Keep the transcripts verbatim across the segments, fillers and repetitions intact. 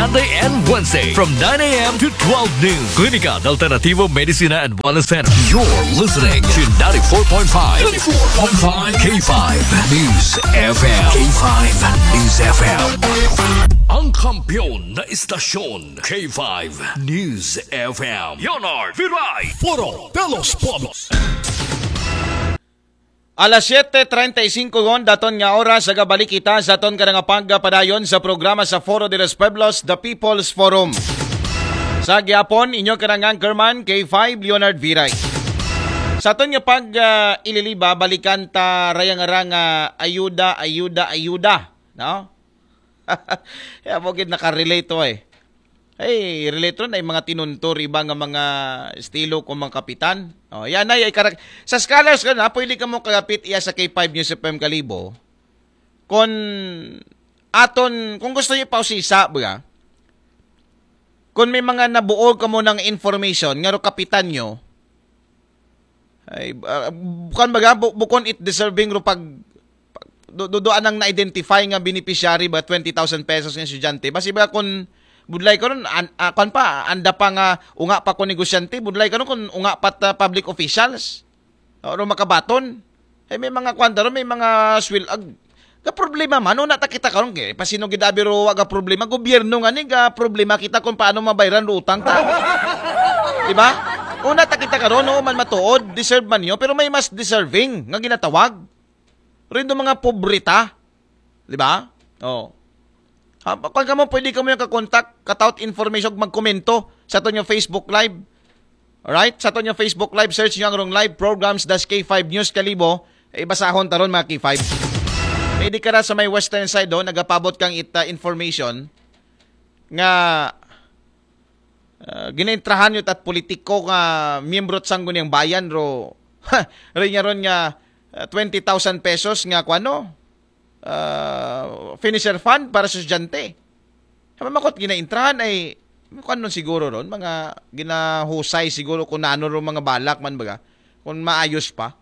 Monday and Wednesday from nine a.m. to twelve noon. Klinika de Alternativo Medicina and Wellness Center. You're listening to ninety-four point five, ninety-four point five K five News F M. K five News F M. Ang kampiyon na istasyon, K five News F M. Leonard Viray, Foro de los Pueblos. Alas siyete treinta y cinco gon daton nga oras, agabalik kita sa aton kada nga pagpadayon sa programa sa Foro de los Pueblos, The People's Forum. Sa gihapon, inyo kanang anchorman, K five Leonard Viray. Sa aton nga pag ah, ililiba, balikan ta rayang-rang ah, ayuda, ayuda, ayuda, no? Kaya mo gid nakarelate to eh. Ay, relate ron ay mga tinunto riba nga mga estilo kung mga kapitan. Oh, yan ay, ay karak- sa scholars ka na, pwede ka mo kagapit iya sa K five News F M Kalibo. Kung aton, kung gusto niyo pausisa, ba? Kung may mga nabuo ka mo ng information, nga ro kapitan nyo, ay, uh, kan baga, bu- bukon it deserving ro pag pag- do, do, do anang na-identify nga beneficiary ba twenty thousand pesos nga estudyante. Basi ba kun budlay karon an, ah, kan pa anda pa nga unga pa ko negosyante, budlay karon kun unga pa ta public officials. Ano makabaton? Ay may mga kwanta ron, may mga swil ag ga problema man, una ta kita karon kay pasino gid abi ro wa ga problema, gobyerno nga ni ga problema kita kung paano mabayran ro utang ta. Di ba? Una ta kita karon, oo man matuod, deserve man niyo, pero may mas deserving nga ginatawag. Rin do mga pobre ta. Di ba? Oh. Ha, kung ka mo, pwede ka mo yung kakontak, kataot information, magkomento sa aton yung Facebook Live. Alright? Sa aton yung Facebook Live, search nyo ang Rong Live Programs dash K five News Kalibo. Eh, basahon taron mga K five. Pwede ka na sa may western side doon, nagapabot kang it, uh, information nga uh, ginaintrahan nyo tat politiko nga miyembro at sangguniang bayan ro rin nga ron nga uh, twenty thousand pesos nga kwano uh, finisher fund para sa estudyante. Hama makot ginaintrahan ay kwan nun siguro ron, mga ginahusay siguro kung nano ron mga balak man baga, kung maayos pa.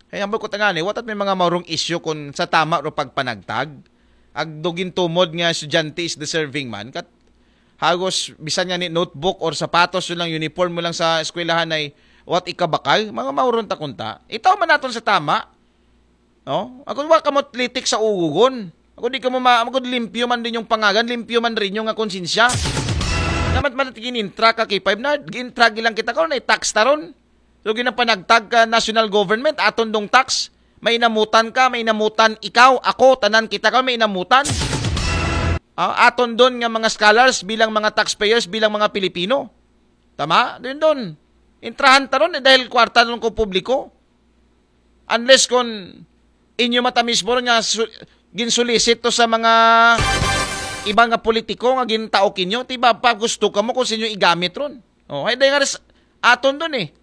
Ay ang ko tangani, watat may mga maurong issue kung sa tama ro pagpanagtag. Agdugin tumod nga estudyante is deserving man. Kat hagos bisan nga ni notebook or sapatos yun lang, uniform mo lang sa eskwelahan ay what ikabakal, mga mauron ta kunta. Itaw man naton sa tama. No? Ako wa ka mo litik sa ugugon. Ako di ka mo ma ako limpyo man din yung pangagan, limpyo man rin yung konsensya. Namat man ginintra ka kay five na, gintra lang kita karon ay tax taron. So ginapanagtag ka national government, aton dong tax, may inamutan ka, may inamutan ikaw, ako, tanan kita ka, may inamutan. Ah, aton don nga mga scholars bilang mga taxpayers, bilang mga Pilipino. Tama? Din don. Intrahan taron eh, dahil kwarta nun ko publiko. Unless kon inyo mata mismo ron nga su- ginsulisit to sa mga iba nga politiko nga gintaok inyo, ti ba pa gusto ka mo kung sinyo igamit ron. Oh, ay dahil nga res- aton dun eh.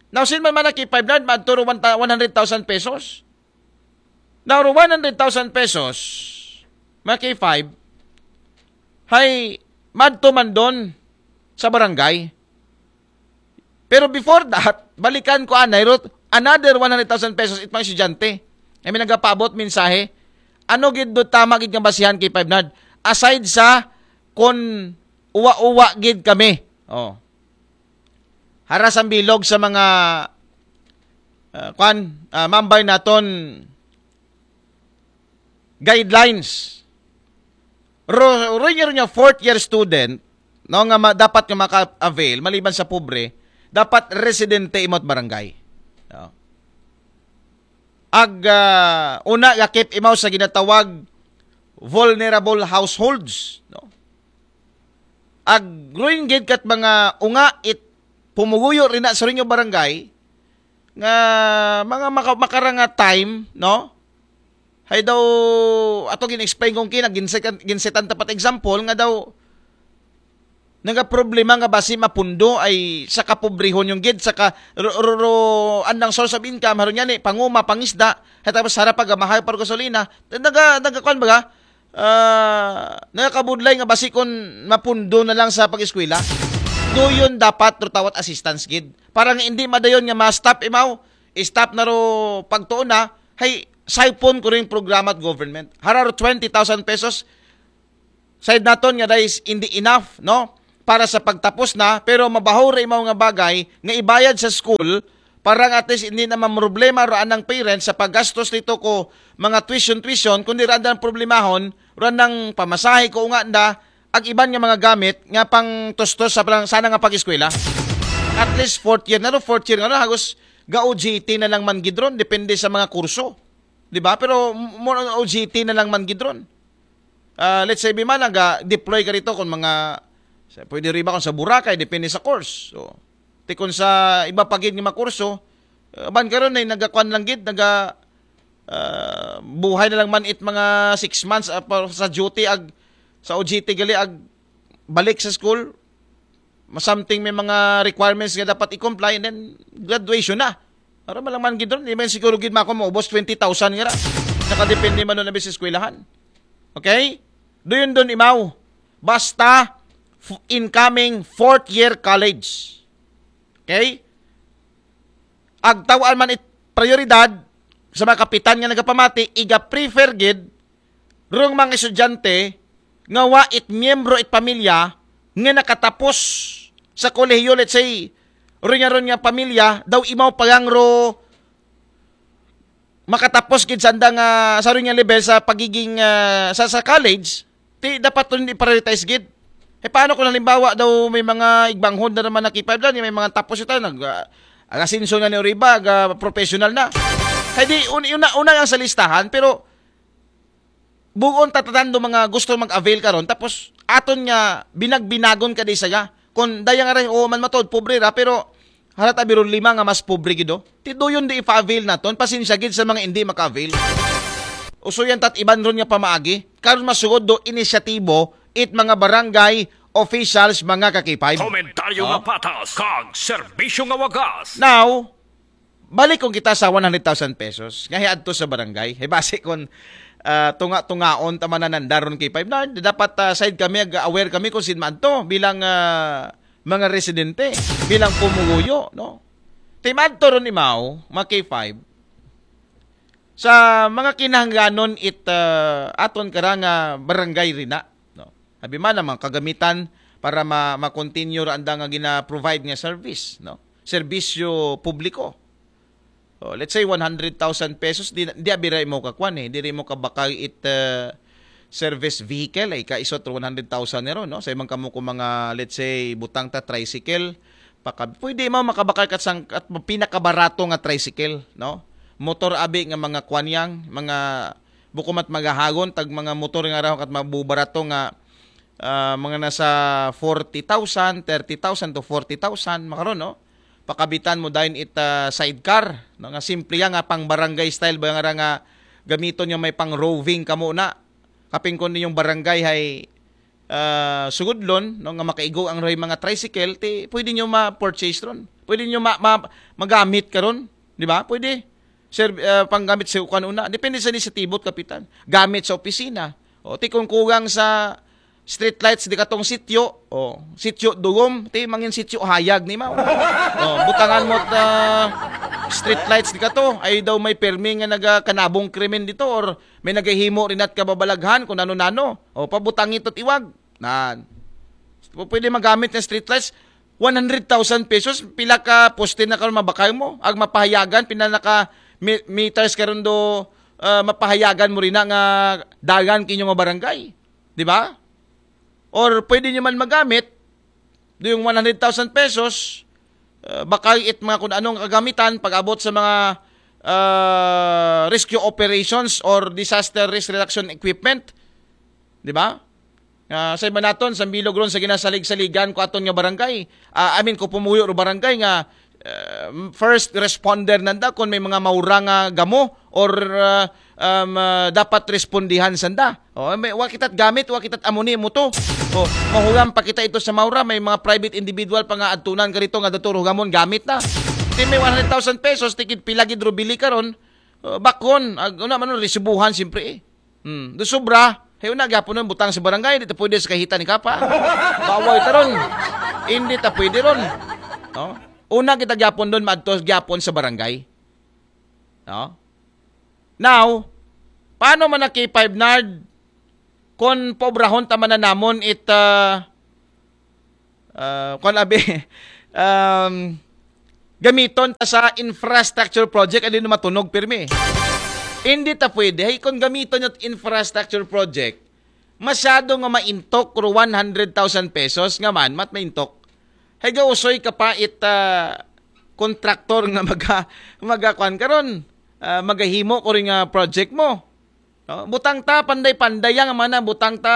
Now, sin man man ki five hundred, madto ro one ta- one hundred thousand pesos. Now, ro one hundred thousand pesos, mga K five, hay madto man don sa barangay. Pero before that, balikan ko anay ro another one hundred thousand pesos it mga estudyante. Ay may nagapabot mensahe. Ano gid do tama gid nga basihan kay five hundred? Aside sa kon uwa-uwa gid kami. Oh. Hara sang bilog sa mga ah, kwan, ah, mambay naton guidelines. Ro, ro, ro niya fourth year student, no, nga ma, dapat nga maka-avail, maliban sa pobre, dapat residente imot barangay. No? Ag, ah, una, gakip imaw sa ginatawag vulnerable households. No? Ag, ruin gid kat mga unga it pumuguyo rin na sa rinyo barangay, nga mga maka, makaranga time, no? Hay daw, ato gin-explain kong kina, ginsetan, ginsetan tapat example, nga daw, naga problema nga basi mapundo ay sa kapobrehon yung gid, sa ka, ro, ro, ro, andang source of income, haron yan eh, panguma, pangisda, hay tapos harap pag mahal para gasolina, naga, naga, kwan baga, ah, nakakabudlay nga basi kon mapundo na lang sa pag-eskwela. Doyon dapat ro tawat assistance gid. Para nga hindi madayon nga ma-stop imaw, stop na ro pagtuon na, hay siphon ko rin programa at government. Hararo twenty thousand pesos, side naton nga dahil hindi enough, no? Para sa pagtapos na, pero mabaho ra imaw nga bagay nga ibayad sa school para nga at least hindi na mamroblema ra anang parents sa paggastos dito ko mga tuition-tuition, kundi ra ang problemahon ra nang pamasahe ko nga da, ag iban nga mga gamit nga pang tustos sa plang sana nga pag-eskwela. At least fourth year na ro, fourth year nga ro, hagos ga O J T na lang man gidron, depende sa mga kurso. Di ba? Pero more on O J T na lang man gidron. Ah, let's say, bimana ga deploy ka rito kung mga sa- pwede riba kung sa Boracay, depende sa course. So, ti kung sa iba pa gid nga mga kurso, uh, ban karon ay nagakuan lang gid, naga ah, buhay na lang man it mga six months, ah, pa- sa duty ag sa O J T gali ag balik sa school, something may mga requirements nga dapat i-comply, and then graduation na. Para malang man gid ron, di man siguro gid mako maubos twenty thousand nga ra. Nakadepende man nun na sa eskwelahan. Okay? Doon doon imaw. Basta f- incoming fourth year college. Okay? Ag tawaan man it prioridad sa mga kapitan nga nagapamati, iga-prefer gid rong mga estudyante nga wa it miyembro it pamilya nga nakatapos sa kolehiyo, let's say, ron nga ron nga pamilya daw imaw pagangro makatapos gid sa andang ah, sa ron nga level sa pagiging ah, sa sa college, ti dapat ron i-prioritize gid. Eh paano kung halimbawa daw may mga igbanghod na naman na K five dyan, may mga tapos ito, nag uh, asenso na ni Oriba, aga professional na. Kaya di un, una, una ang sa listahan, pero buon tatatan do mga gusto mag-avail karon, tapos aton nga binagbinagon ka di saga. Kung daya nga rin, oo man matod, pobre ra, pero harata biro lima nga mas pobre gido. Ti doyon di ipa-avail naton, pasensya gid sa mga hindi maka-avail. Usuyan tat iban ron nga pamaagi, karon masugod do inisyatibo it mga barangay officials, mga ka-K five. Komentaryo nga patas, kag serbisyo nga wagas. Now, balik kung kita sa one hundred thousand pesos nga hiadto sa barangay. He, base kung ah, tunga-tungaon ta man nananda ron K five na dapat ah, side kami, ag- aware kami kung sin man to bilang ah, mga residente, bilang pumuguyo, no? Timadto ron imaw, mga K five, sa mga kinahanglanon it ah, aton kara nga barangay rina, no? Abi man ang mga kagamitan para ma- ma-continue ra anda nga gina-provide nga service, no? Serbisyo publiko. Oh, let's say one hundred thousand pesos, di di abira mo kakuan eh, diri mo kabakal it uh, service vehicle ay ka isot one hundred thousand nero, no? Sa imang kamo ko mga, let's say, butang ta tricycle, paka pwede mo makabakal kat sang at pinakabarato nga tricycle, no? Motor abi nga mga kuanyang, mga buko mat magahagon tag mga motor nga raw kat mabubarato nga ah, mga nasa forty thousand, thirty thousand to forty thousand, makaron, no? Pakabitan mo dayon it ah, sidecar, no? Nga simple yan, nga pang barangay style ba nga, nga gamiton yung may pang roving kamo na. Kaping kun yung barangay hay ah, sugudlon, no? Nga makaigo ang roy mga tricycle, ti pwede nyo ma-purchase ron. Pwede nyo ma, ma, magamit karon, di ba? Pwede. Sir, ah, panggamit sa kuan una. Depende sa inisitibot, kapitan. Gamit sa opisina. O, ti kung kugang sa street lights di katong sityo, o, sityo dugom, ti mangin sityo hayag ni mao. O, butangan mo ta street lights di kato, ay daw may permi nga nagakanabong krimen dito or may nagahimo rin at kababalaghan kung ano-nano. O, pabutangi to't iwag. Nan. Pwede magamit ng street lights. One hundred thousand pesos, pila ka poste na karon mabakal mo? Ag mapahayagan, pila na ka me- meters karon do ah, mapahayagan mo rin na nga dagan kinyo nga barangay. Di ba? Or pwede nyo man magamit, do yung one hundred thousand pesos, ah, bakal it mga kung anong kagamitan pag-abot sa mga ah, rescue operations or disaster risk reduction equipment. Di ba? Ah, sa iba naton, sa bilog ron sa ginasalig-saligan ko aton nga barangay. Ah, I mean, ko pumuyo ro barangay nga ah, first responder nanda kung may mga maura nga gamo or ah, um, ah, dapat respondihan sanda. O, may, wa kita't gamit, wa kita't amuni mo to. O, mahuram pa kita ito sa maura, may mga private individual pa nga adtunan ka rito nga dato hugamon gamit na. Ti may one hundred thousand pesos, tikid pila gid ro bili karon, ah, bakon, ag, una man ron, resibuhan, siyempre eh. Hmm, do sobra. Hay una gyapon nun butang sa barangay, di ta pwede sa kahita ni kapa. Bawal ta ron. Hindi ta pwede ron. No? Una kita gyapon doon, maadto gyapon sa barangay. No? Now, paano man na K five Nard? kon paobrahon ta man na namon it, ah, ah, kon abi, um, gamiton ta sa infrastructure project, adi na matunog pirmi. Hindi ta pwede. Hay, kon gamiton it infrastructure project, masyado nga maintok ro one hundred thousand pesos nga man, mat maintok. Hay, gausoy ka pa it, ah, kontraktor nga maga-, magakuan karon, ah, magahimo ko rin nga project mo. No? Butang ta, panday-panday yang mana, butang ta,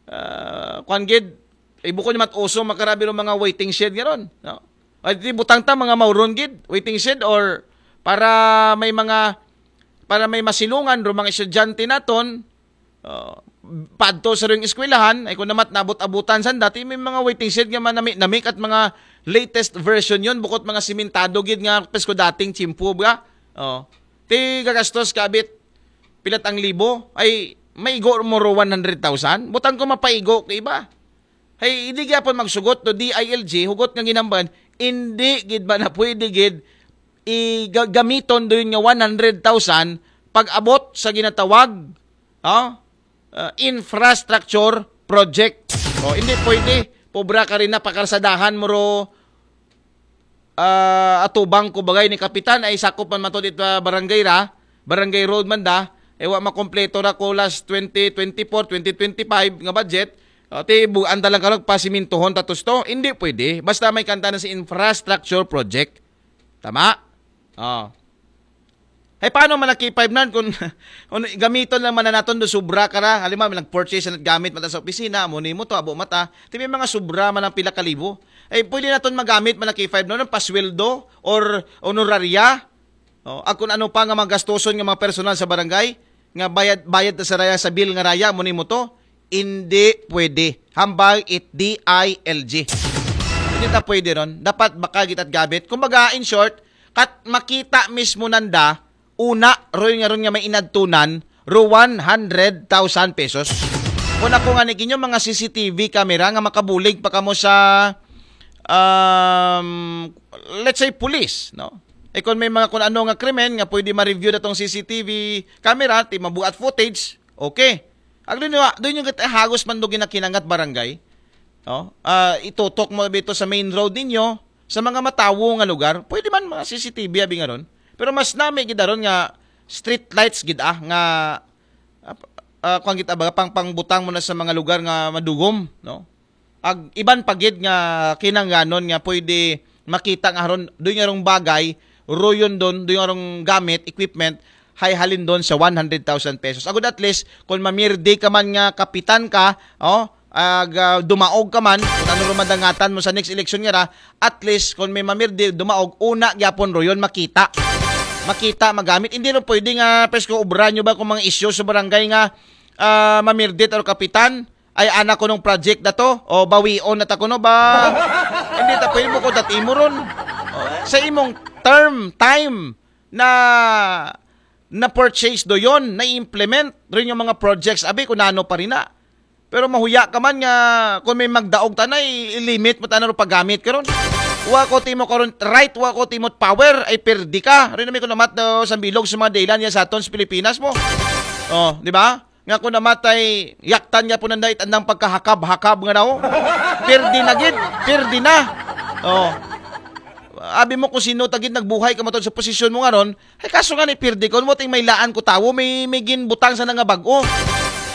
ah, kuan gid, ibukon niya mat uso, makarabi ro mga waiting shed nga ron. No? Ay, di butang ta, mga mauron gid, waiting shed, or para may mga, para may masilungan ro mga estudyante naton, ah, padto sa ring eskwelahan, ay kung namat nabot-abutan sanda, ti may mga waiting shed nga manami-nami kat mga latest version yon, bukod mga simentado gid nga pesko dating tiyempo, ba? Oh. Ti gagastos ka abit pilat ang libo, ay maigo mo ro one hundred thousand? Butang ko mapaigo ka iba. Hay, hindi gyapon magsugot to D I L G, hugot nga ginamban, hindi gid ba na pwede gid i-, ga-, gamiton doon nga one hundred thousand pag abot sa ginatawag, oh, ah, infrastructure project. Oh, hindi pwede. Pobra ka rin na pakarsadahan mo ro, ah, atubang ko bagay ni Kapitan ay sakop man matod ito, ah, barangay ra, barangay road man da, eh, wa makompleto ra ko last twenty twenty-four, twenty twenty-five nga budget. Oh, ti buan ta lang karog pasimintuhon tatos to. Hindi pwede. Basta may kanta na sa infrastructure project. Tama? Oh. Ay, paano man ang K five nan kung, kung gamiton lang man na naton do sobra ka ra? Halimbawa, may nag-purchase na gamit mata sa opisina, amo ni mo to, abo mata. Ti may mga sobra man ang pila ka libo. Ay, pwede naton magamit man ang K five nan, pasweldo or honoraria. Oh, at kung ano pa nga mga gastuson nga mga personal sa barangay, nga bayad, bayad na sa raya sa bill nga raya, amo ni mo to. Hindi pwede. Hambal it D I L G. Hindi ta pwede ron. Dapat baka gitat gabit. Kumbaga, in short, kat makita mismo nanda, una, roy nga ron nga may inadtunan, ro one hundred thousand pesos. Kung ako nga ni kinyo, mga C C T V camera nga makabulig pa kamo sa, um, let's say, police, no? E kung may mga kung ano nga krimen nga pwede ma-review na tong C C T V camera, ti mabuat footage, okay. Agdo nyo, doon yung hagos man do ginakinangat barangay. No? Ah, itutok mo bito sa main road ninyo, sa mga matawo nga lugar, pwede man mga C C T V abi nga ron. Pero mas nami gid aron nga street lights gid, ah, nga, ah, ah, kuwan gid, ah, baga pang pangbutang mo na sa mga lugar nga madugom, no? Ag iban pa gid nga kinangganon nga pwede makita nga aron doy nga rong bagay, royon don, doy nga rong gamit, equipment, hay halin don sa one hundred thousand pesos. Agud at least, kung mamirdi ka man nga kapitan ka, oh, ag, ah, dumaog ka man, kung ano ro madangatan mo sa next election nga ra, at least, kung may mamirdi, dumaog, una gyapon royon, makita. Makita, magamit. Hindi ro pwede nga, pres ko, obra nyo ba kung mga isyu sa barangay nga, ah, mamirdit or kapitan? Ay, anak ko nung project na to, o bawion na ta kuno ba? Hindi ta pwede mo ko dati mo ron. O, sa imong term, time, na, na-purchase do yon, na-implement rin yung mga projects. Abi, kung nano pa rin na. Pero mahuya ka man nga, kung may magdaog ta na, i-limit mo ta na ro paggamit karon. Wa ko timo karon, right, wa ko timo power, ay perdi ka. Rin namin ko namat do sa bilog sa mga daylan niya sa aton sa Pilipinas mo. Oh, di ba? Nga ko namatay, yaktan nga po nanda itandang pagkahakab-hakab nga daw. Perdi na gid, perdi na. Oh. Abi mo kung sino tagid nagbuhay ka matod sa posisyon mo nga ron, ay kaso nga ni perdi ko, mo ting may laan ko tawo, may, may ginbutang sa nga bag-o.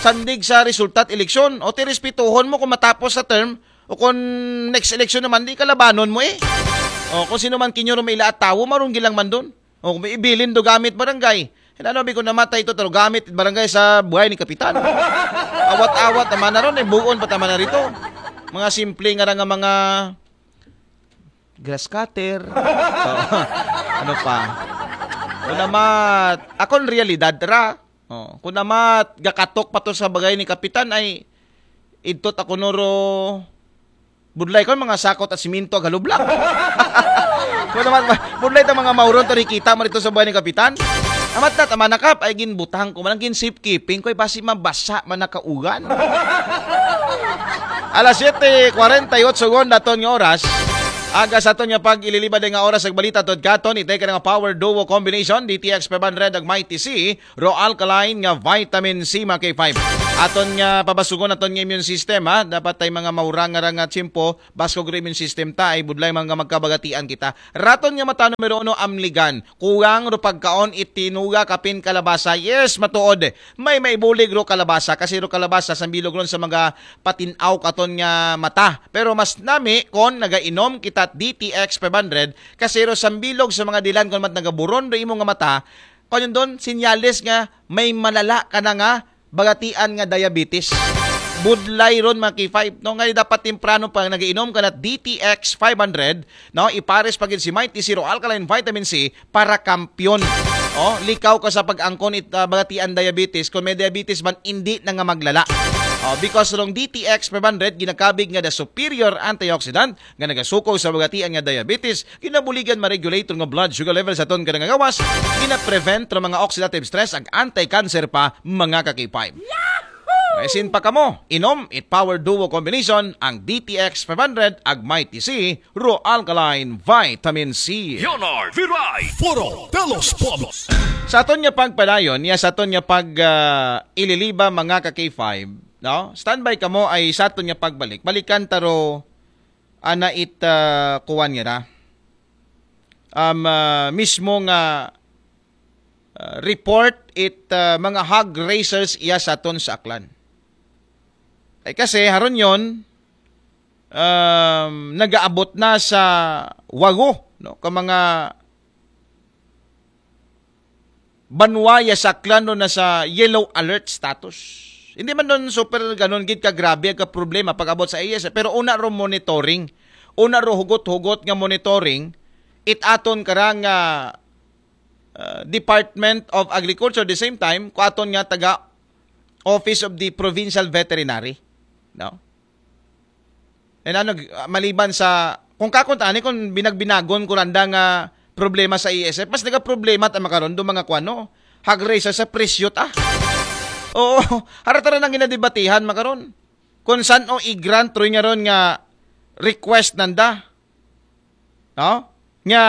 Sandig sa resulta at eleksyon. O ti respetuhon mo kung matapos sa term, o kung next election naman, di kalabanon mo eh. O kung sino man kinyo ro may ilaat tawo, marunggi lang man doon. O kung may ibilin do gamit barangay. Hinano bi ko namatay ito, taro gamit barangay sa buhay ni Kapitan. Awat-awat naman na ron, eh, buon pa taman na rito. Mga simple nga ra nga mga grass cutter. O, ano pa? Kung namat, akon realidad ra. O, kung namat, gakatok pa to sa bagay ni Kapitan ay idtot ako noro budlay ko mga sakot at siminto ag halublak. Kung namat, budlay ta mga mauron to rikita mo rito sa buhay ni Kapitan. Amat na, tama na kap, ay ginbutang ko man, gin safekeeping ko, ay basi mabasa man nakaugan. Alas siyete kwarenta y otso gon daton nga oras. Aga sa aton nga pag-ililibad nga oras sa balita tod katon, itay ka nga power duo combination, D T X five hundred ag Mighty C, Ro Alkaline nga vitamin C, mga K five. Aton nga pabasugon aton nga immune system, ha. Dapat tay mga maurang nga ra nga tiyempo, baskog ro immune system ta, ay budlay mga magkabagatian kita. Raton nga mata numero uno, amligan. Kuwang ro pagkaon, itinuga, kapin kalabasa. Yes, matuod. May maibulig ro kalabasa, kasi ro kalabasa sambilog ron sa mga patin-aw katon nga mata. Pero mas nami kon nagainom kita D T X five hundred, kasi ro sambilog sa mga dilan kon mat nagaburon ro imo nga mata, kon yun don, sinyales nga may malala ka na nga bagatian nga diabetes. Budlay ron, mga K five, no? Nga dapat temprano pa nagainom ka na D T X five hundred, no? Ipares pa gid si Mighty Zero Alkaline Vitamin C para kampiyon. Oh, likaw ka sa pag-angkon it, ah, bagatian diabetes. Kung may diabetes man, hindi na nga maglala. Oh, because rong D T X five hundred, ginakabig nga the superior antioxidant nga nagasuko sa bagatian nga diabetes, ginabuligan ma-regulate nga blood sugar level sa aton kada nga gawas, gina-prevent ra mga oxidative stress, ag anti-cancer pa, mga ka-K five. Maisin pa kamo, inom it Power Duo Combination, ang D T X five hundred, ag Mighty C, Ro Alkaline Vitamin C. Leonard Viray, Foro de los Pueblos. Sa aton nga pagpadayon, ya sa aton nga pag, ah, ililiba, mga ka-K five, no? Standby kamo ay sa aton nga pagbalik. Balikan ta ro ana it, ah, kuwan nga ra. Um, ah, mismo nga, ah, report it, ah, mga hog raisers iya sa aton sa Aklan. Ay kasi, haron yon, um, nagaabot na sa wago, no? Ka mga banwa ya sa Aklan ron na sa yellow alert status. Hindi man don super ganon gid ka grabe ka problema pag-abot sa A S F, pero una ro monitoring, una ro hugot-hugot nga monitoring, it aton karang, ah, ah, Department of Agriculture, the same time, ko aton nga taga Office of the Provincial Veterinary, no? And ano, maliban sa, kung kakunta ani, kung binagbinagon ko randa nga problema sa A S F, mas nagaproblema ta makaron do mga kwano, hag raise sa presyo ta. Oo, harata ra nang ginadebatihan makaron. Kung san o i-grant ro nga ron nga request nanda, no? Nga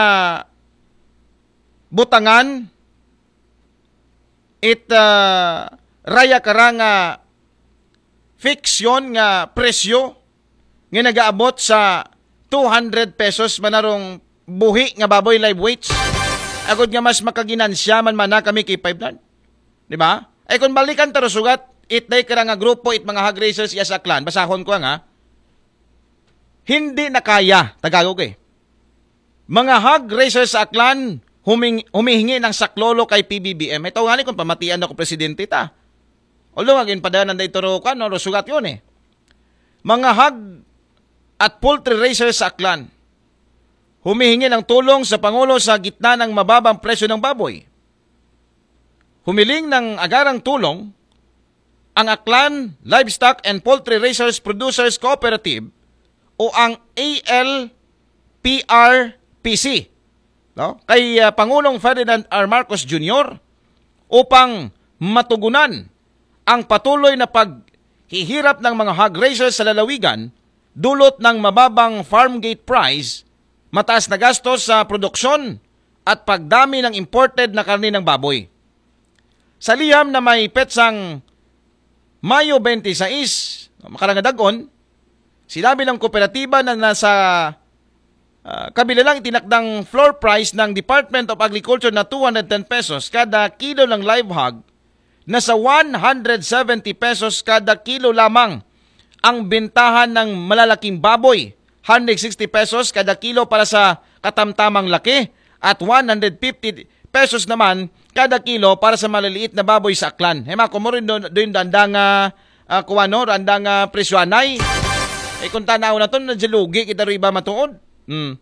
butangan it, ah, raya kara nga fiksyon nga presyo nga nagaabot sa two hundred pesos manarong buhi nga baboy live weights. Agod nga mas makaginansya man mana kami kay five land. Di ba? Ay kung balikan ta ro sugat, it day kara nga grupo, it mga hog raisers iya sa Aklan, basahon ko nga, hindi na kaya, Tagalog eh. Mga hog raisers sa Aklan, huming, humihingi ng saklolo kay P B B M. Ito nga ni kung pamatian ako presidente ta. Although, agin padanan da ito ro, kano, ro sugat yun eh. Mga hog at poultry raisers sa Aklan, humihingi ng tulong sa Pangulo sa gitna ng mababang presyo ng baboy. Humiling ng agarang tulong ang Aklan Livestock and Poultry Raisers Producers Cooperative o ang A L P R P C, no? Kay, ah, Pangulong Ferdinand R. Marcos Junior upang matugunan ang patuloy na paghihirap ng mga hog raisers sa lalawigan dulot ng mababang farm gate price, mataas na gastos sa produksyon at pagdami ng imported na karne ng baboy. Sa liham na may petsang Mayo twenty-six, makarang nga dag-on, sinabi ng kooperatiba na nasa, ah, kabila lang itinakdang floor price ng Department of Agriculture na two hundred ten pesos kada kilo ng live hog, nasa one hundred seventy pesos kada kilo lamang ang bentahan ng malalaking baboy, one hundred sixty pesos kada kilo para sa katamtamang laki at one hundred fifty pesos naman kada kilo para sa maliliit na baboy sa Aklan. Hema, kung mo rin doon, doon danda nga, ah, kuwano, danda nga presyo anay. Eh, kung tanaw na to, nadyalugi kita ro iba matuod. Hmm.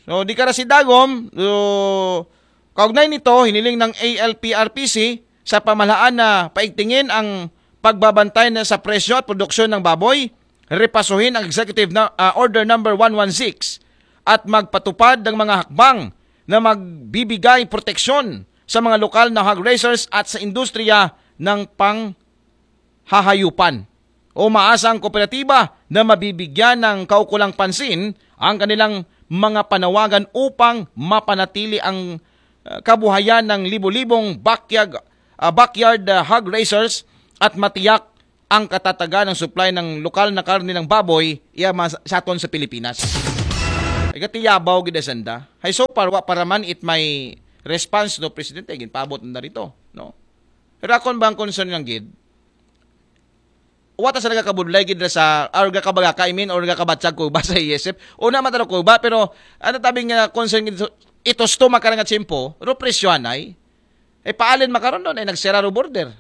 So, di ka ra si Dagom, so, kaugnay nito, hiniling ng A L P R P C sa pamahalaan na paigtingin ang pagbabantay na sa presyo at produksyon ng baboy, repasuhin ang Executive na, ah, Order Number one one six at magpatupad ng mga hakbang na magbibigay proteksyon sa mga lokal na hog raisers at sa industriya ng panghahayupan. Umaasa ang kooperatiba na mabibigyan ng kaukulang pansin ang kanilang mga panawagan upang mapanatili ang, uh, kabuhayan ng libo-libong backyard, uh, backyard, uh, hog raisers at matiyak ang katatagan ng supply ng lokal na karne ng baboy iya mas- sa aton sa Pilipinas. Ay katiyabaw gid sanda. Hay so far, wa pa raman it may response no presidente, ginpaabot na rito, no? Pero akon bang concern lang gid, wa ta sa nagakabudlay gid ra sa, or gakabagaka, I mean, or gakabatsag ko ba sa E S F? Una man taro ko ba, pero ano tabing nga concern gid, ito sto makarang at simpo, ro presyohan ay. Ay paalin makaron doon, ay nagsira ro border.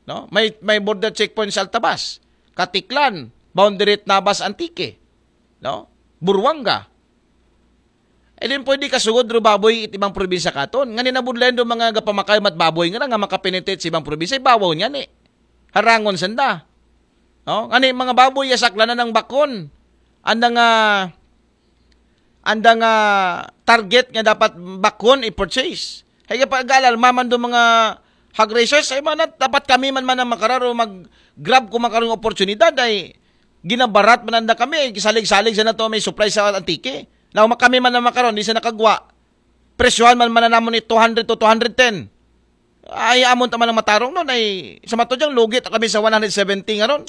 No? May, may border checkpoint sa Altabas, Katiklan, boundary at Nabas, Antique. No? Buruanga. E din pwede kasugod ro baboy it ibang probinsya katon. Ngani nabudlayan do mga gapamakay mat baboy nga nga makapenetrate sa ibang probinsya, ibabaw niya ni. Harangon sanda. No? Ngani mga baboy, yasak lang na ng bakon. Anda nga, anda nga target nga dapat bakon i-purchase. Hay pa galal maman do mga hog raisers, ay man dapat kami man man ang makararo mag-grab ko makarong oportunidad ay ginabarat man anda kami, ay salig-salig sa nato may supply sa Antique. Now, kami man ang makaron, di sa nakagwa. Presyohan man man namon ni two hundred to two hundred ten. Ay, amon ta man ang matarong nun, ay sa mato diyang lugit kami sa one hundred seventy nga ron.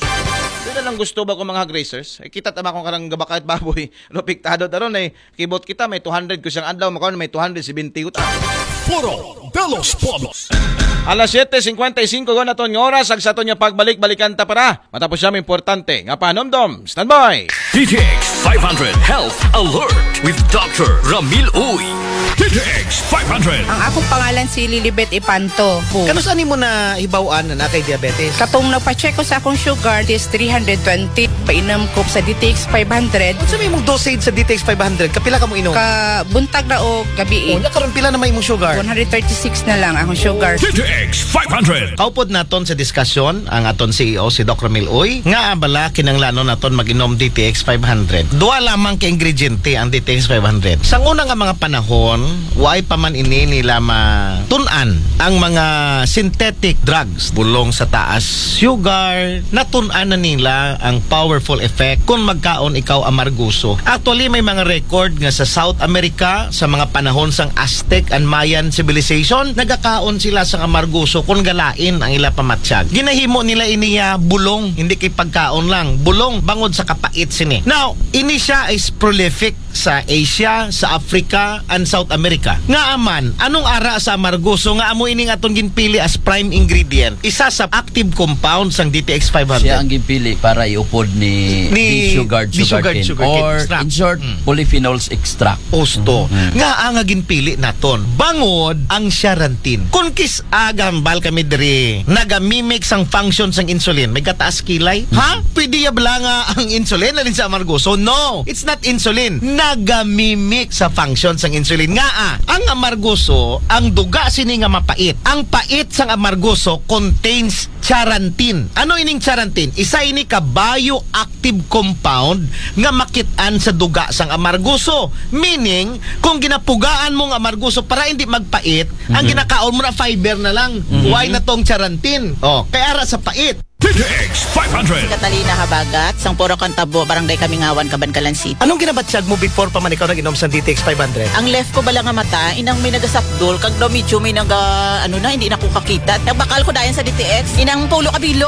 Yun na lang gusto ba ko mga hog raisers? Ay, kita tama kung karang gabakay at baboy. Lopiktado taron ay kibot kita, may two hundred ko siyang adlaw, makaon may two hundred seventy ko ta. Puro de los Pueblos. Alas siyete cincuenta y cinco go naton nga oras, ag sa aton nga pagbalik-balikan ta para matapos siya may importante nga panomdom. Standby! D T X five hundred Health Alert with Doctor Ramil Uy. D T X five hundred. Ang akong pangalan si Lilibet Ipanto. Kanus-a nimo nahibaw-an na naa kay diabetes? Katong nagpa-check ko sa akong sugar, is three hundred twenty. Painom ko sa D T X five hundred. Unsa may imong dosage sa D T X five hundred? Kapila ka mo inom? Ka buntag na o gabi. Unya karon pila na may imong sugar? One hundred thirty-six na lang akong sugar. D T X five hundred. Kaupod naton sa diskusyon ang aton C E O, si Doc Ramil Uy, nga abala kinanglanon naton mag-inom D T X five hundred. Duha lamang ka ingrediente ang D T X five hundred. Sa una nga mga panahon, waay pa man ini nila matun-an ang mga synthetic drugs. Bulong sa taas sugar, natun-an na nila ang powerful effect kung magkaon ikaw amarguso. Actually, may mga record nga sa South America, sa mga panahon sang Aztec and Mayan civilization, nagakaon sila sa amarguso kung galain ang ila pamatyag. Ginahimo nila iniya bulong, hindi kay pagkaon lang. Bulong bangod sa kapait sini. Now, ini siya is prolific sa Asia, sa Africa, and South America. Nga aman, anong ara sa amarguso nga amo ining atong ginpili as prime ingredient? Isa sa active compound sang D T X five hundred. Siya ang ginpili para iupod ni, Ni ni Shugard Di Shugard Sugarcane Sugarcane or extract. In short, Mm. polyphenols extract. Osto. Mm. Nga ang ginpili naton. Bangod ang siya rantin. Kung kis agambal kami diri, nagamimic sang function sang insulin, may kataas kilay. Ha? Pwede ya bala nga ang insulin alin sa amarguso? No, it's not insulin. Nagamimic sa function sang insulin. Nga ah, ang amarguso, ang duga sini nga mapait. Ang pait sang amarguso contains charantin. Ano ining charantin? Isa ini ka bioactive compound nga makit-an sa duga sang amarguso. Meaning, kung ginapugaan mo ang amarguso para hindi magpait, ang ginakaon mo na fiber na lang. Why na tong charantin? Oh, kay ara sa pait. D T X five hundred. Catalina Habagat, sang Puro Kantabo, Barangay Kamingawan, Kabankalan City. Anong ginabatyag mo before pa man ikaw nag-inom sa D T X five hundred? Ang left ko bala nga mata, inang may nagasakdol, kag daw medyo may naga, ano na, hindi na ko kakita. Nagbakal ko dayon sa D T X, inang pulo ka bilog.